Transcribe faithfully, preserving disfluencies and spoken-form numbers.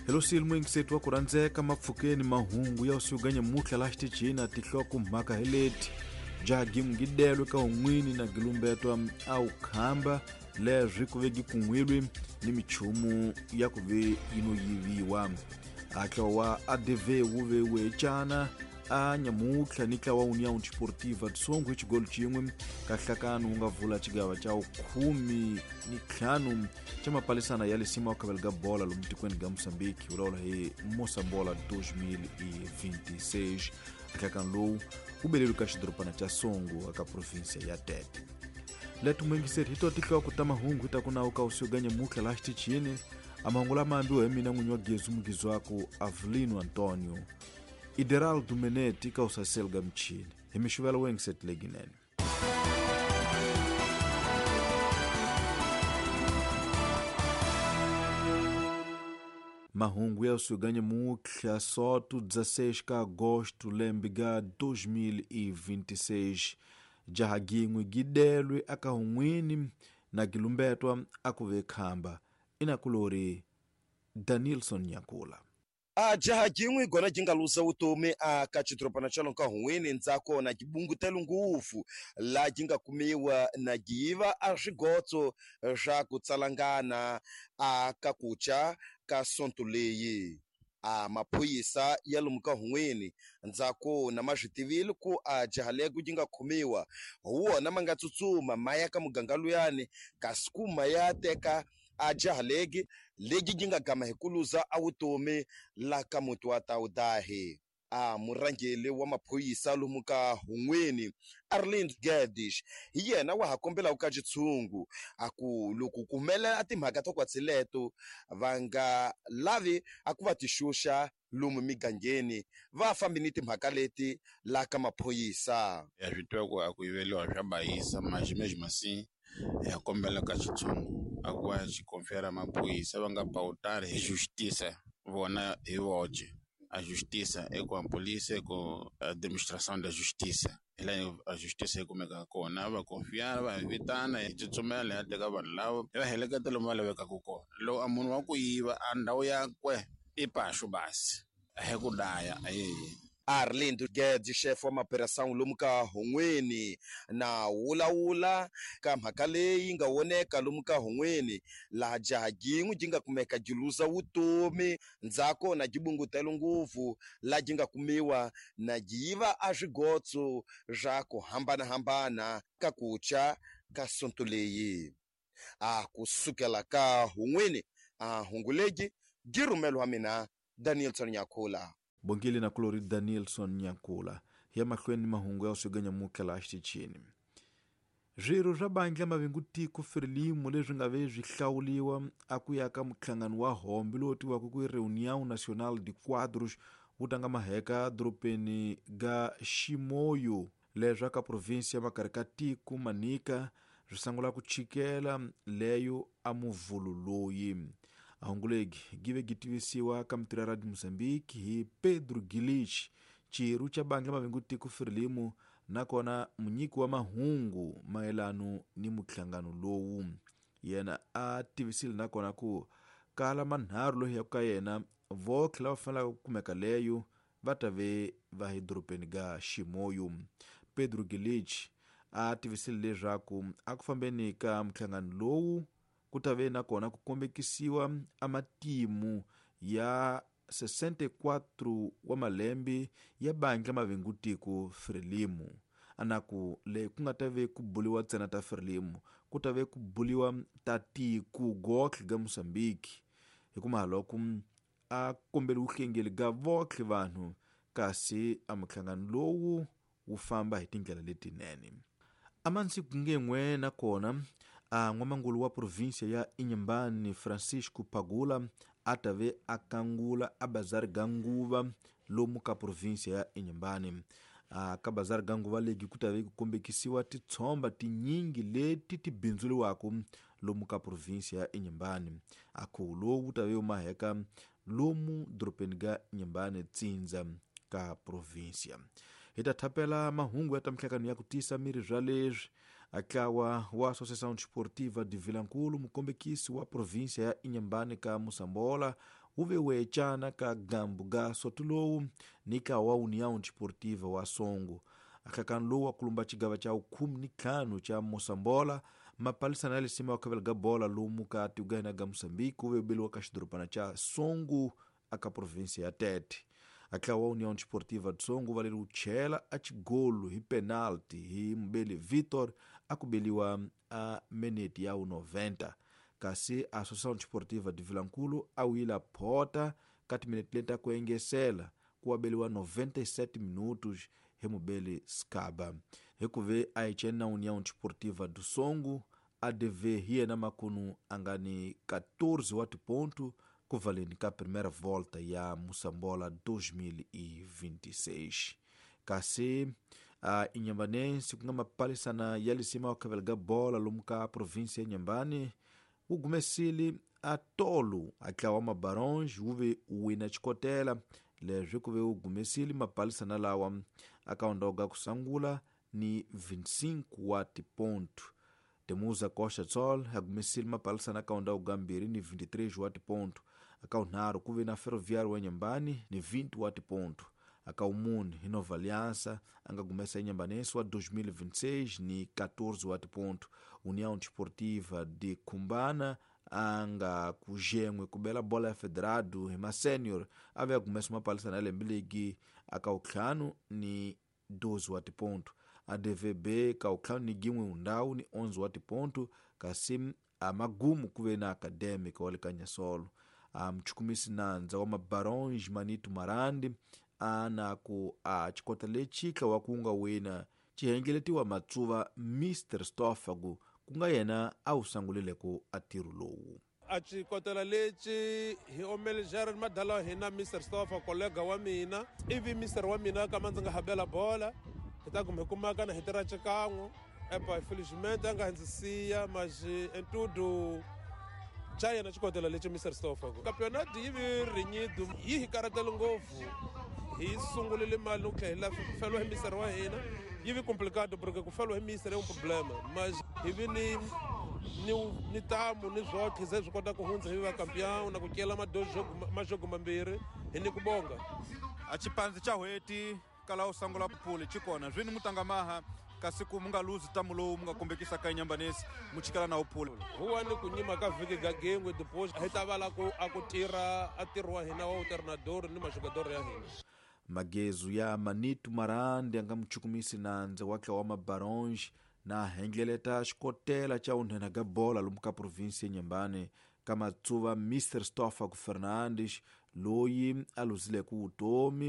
Hello mwingisetu wa kurandzeka mapfukeni mahungu ya usuganya muhla la xitichini tihloko mhaka heleti jagi mgidelwe ka un'wini na gilumbetwa au khamba leswi ku vegi kun'wilwi ni michumu ya ku ve yino yiviwa atla wa A D V wu ve wecana a nyamuhla ni tlawa União Desportiva de Songo hi xigolo xin'we ka nhlakano wu nga vula xigava xa khume ni ntlhanu xa mapalisana ya lisima wa khavela ga bola lomu tikweni ga Moçambique vulavula hi Moçambola dois mil e vinte e seis. Nhlakano lowu wu beleriwe ka xidorobana xa Songo eka provinsia ya Tete. Leto mwingiseri hi to tihloko ta mahungu hi ta ku nawu ka usuga nyamuhla la xitichini a mahungu lama ambiwa hi mina n'winyi wa Gezu Mugizwaku Avelino Antonio Ideraldo Menete ka usasel ga mchini hi mixuvelo wengiset leginene. Mahungu ya usuganya muhla soto dezesseis ka agosto lembe ga dois mil e vinte e seis jaha gin'we gidelwe aka hun'wini na gilumbetwa akuve khamba inakulori Danilson Nyakula. A jaha jin'we gona jinga luza vutomi a ka xidorobana xa ka hun'wini ndzako na gibungutelo ngopfu la jinga kumiwa na giyiva a swigotso swa ku tsalangana a ka kucha ka sonto leyi. A maphorisa ya lomu ka hun'wini ndzako na ma swi tivile ku a jaha lego ji nga khomiwa hi wona ma nga tsutsuma ma ya ka muganga luyani kasi ku ma ya teka a jaha legi legi ji nga gama hi ku luza a vutomi la ka muti wa Tawudahi. A murhangeri wa maphorisa lomu ka hun'wini Arlind Gedish hi yena wa ha kombelaka ka xitshungu a ku loko ku humelela timhaka to kwatsileto va nga lavi a ku va ti xuxa lomu migangeni va fambi ni timhaka leti la ka maphorisa. Ya swi tiva ku a ku yiveliwa swa bayisa mas mesmo assim ya kombela ka xitshungu a ku va xi confiar maphorisa va nga pautari hi justiça vona hi voce. A justiça é com a polícia, é com a demonstração da justiça. Ela a justiça é como é que kona va confiar va vitana hi tsutsumela ya teka vanhu lava va heleketa lomu va lavekaka kona. Loko a munhu wa ku yiva a ndhawu yakwe i paxu basi a hi ku daya aye. Arlindo Guedes, chefe wa maperação lomu ka hun'wini na wulawula ka mhaka leyi nga voneka lomu ka hun'wini laha jaha jin'we ji nga kumeka ji luza vutomi ndzako na ji bungutelo ngopfu laha ji nga kumiwa na ji yiva a swigotso swa ku hambanahambana ka kucha ka sonto leyi. A kusukela ka hun'wini a hungu legi ji rhumeliwa mina Danielson Nyakula. Bongile na kulori Danielson Nyakula ya mahlweni mahungu ya usuganya mukela xitichini. Swirho swa bandla mavingu tiko Frelimo leswi nga ve swi hlawuliwa a ku ya ka muhlangano wa hombe lowu tiwaka ku Reunião Nacional de Quadros wu tanga maheka dorobeni ga Chimoio leswi ka provinsia makarhi ka tiko Manica swi sungula ku chikela leyo a muvhulu loyi. Ahungulegi give gitivisiwa ka mitirho ya Radio Mozambique hi Pedro Gilich xirho xa bandla mavingu tiko Frelimo nakona munyiki wa mahungu mayelano ni muhlangano lowu. Yena a tivisile nakona ku kala manharhu loyi ya ka yena votlhe lava fanelaka ku kumeka leyo va ta ve va hi dorobeni ga Chimoio. Pedro Gilich a tivisile leswaku a ku fambeni ka muhlangano lowu ku ta ve nakona ku kombekisiwa a matimu ya sessenta e quatro wa malembe ya bandla mavingu tiko Frelimo. Anaku le ku nga ta ve ku buliwa ntsena ta Frelimo ku ta ve ku buliwa ta tiko gotlhe ga Mozambique hikuva loko a kombeli vuhlengeli ga votlhe vanhu kasi a muhlangano lowu wu famba hi tindlela letinene. Amansi kungen'we nakona a n'wamangulu wa provinsia ya Inhambane Francisco Pagula a ta ve a kangula a bazari ga nguva lomu ka provinsia ya Inhambane. A ka bazari ga nguva legi ku ta ve ku kombekisiwa titshomba tinyingi leti ti bindzuriwaka lomu ka provinsia ya Inhambane. A khuvo lowu wu ta ve wu maheka lomu dorobeni ga Inhambane tsindza ka provinsia. Hi ta thapela mahungu ya ta mihlakano ya ku tisa miri swa leswi Atlawa wa Associação Desportiva de Vilankulo, mukombekisi wa província ya Inhambane ka Moçambola, wu ve wecana ka gambu ga sotulowu ni ka wa União Desportiva wa Songo. Ahlakano lowu wa kulumba cigava ca ukhume ni ntlhanu ca Moçambola mapalisana ya lisima wa khavela ga bola lomu ka tigana ga Moçambique wu ve beliwa ka xidorobana ca Songo aka província ya Tete. Atla wa União Desportiva de Songo valeri wu chela a xigolo hi penalti hi mubeli Vitor a ku beliwa a minute ya noventa, kasi Associação Desportiva de Vilankulu a wila phota ka timinete leti ta ku engesela ku abeliwa noventa e sete minutos hi mubeli Skaba. Hi ku ve a hi na União Desportiva do Songo A D V hi yena makunu a nga ni quatorze wa tiponto ku valeni ka primeira volta ya Moçambola dois mil e vinte e seis. Kasi a Inhambane ku nga mapalisana ya lisima wa khavela ga bola lomu ka província ya Inhambane wu gumesile a tolo a tlawa mabarons wu ve wina xikotela leswi ku ve wu gumesile mapalisana lawa aka ondoga ku sangula ni vinte e cinco wa tiponto. Temuza Costa Sol a gumesile mapalisana aka ondoga mbirhi ni vinte e três wa tiponto. Aka unharhu ku ve na Ferroviário wa Inhambane ni vinte wa tiponto. Aka umune hi Nova Aliança a nga gumesa Inhambanense wa dois mil e vinte e seis ni quatorze wa tiponto. União Desportiva de Cumbana a nga kujenwe ku bela bola ya Federado hi ma senior a ve a gumesa mapalisana ya lembe ligi aka utlhanu ni doze wa tiponto. A D V B ka utlhanu ni gin'we undhawu ni onze wa tiponto, kasi a magumu ku ve na Acadêmica wa le ka Nyasolo. A mchukumisi nandza wa mabarons Manito Marandi a na ku a xikota lexi wa ku nga wina xihengeletiwa matsuva Mister Stoffagu ku nga yena a wu sangulile ku a ntirho lowu. A xikotela lexi hi omele Jared Madala hina Mister Stoffa kollega wa mina ivi Mister wa mina kama ndzi nga habela bola hi ta kuma hi kumaka na hi tirha xikan'we epa felizmente a nga ndzi siya mas em tudo xa yena xikotela lexi Mister Stoffa campeonato yi vi renhido yi hi karatele ngopfu hi sungulile mali no tlhela hi feriwa hi Mister wa hina yi vi complicado porque ku feriwa hi Mister é um problema mas hi vi ni ni ni tamu ni zwotlhe se swi kota ku hundza hi va campeão na ku cela majogo mambirhi hi ni ku bonga. A xipandzi xa hweti kala u sangula phuli xikona zwini mutangamaha kasi ku mu nga luzi tamu lowu mu nga kombekisa ka Inhambanesi mu chikela na uphuli huwa ni ku nyima ka vhiki ga gengwe depois hi ta vala ku a ku tirha a ntirho wa hina wa treinador ni majogador ya hina. Magezu ya Manito Marandi a nga muchukumisi nandza wa tlawa mabarons na hengeleta xikotela xa unhena ga bola lomu ka província ya Inhambane ka matsuva Mister Stoffaku Fernandes loyi a luzileke vutomi.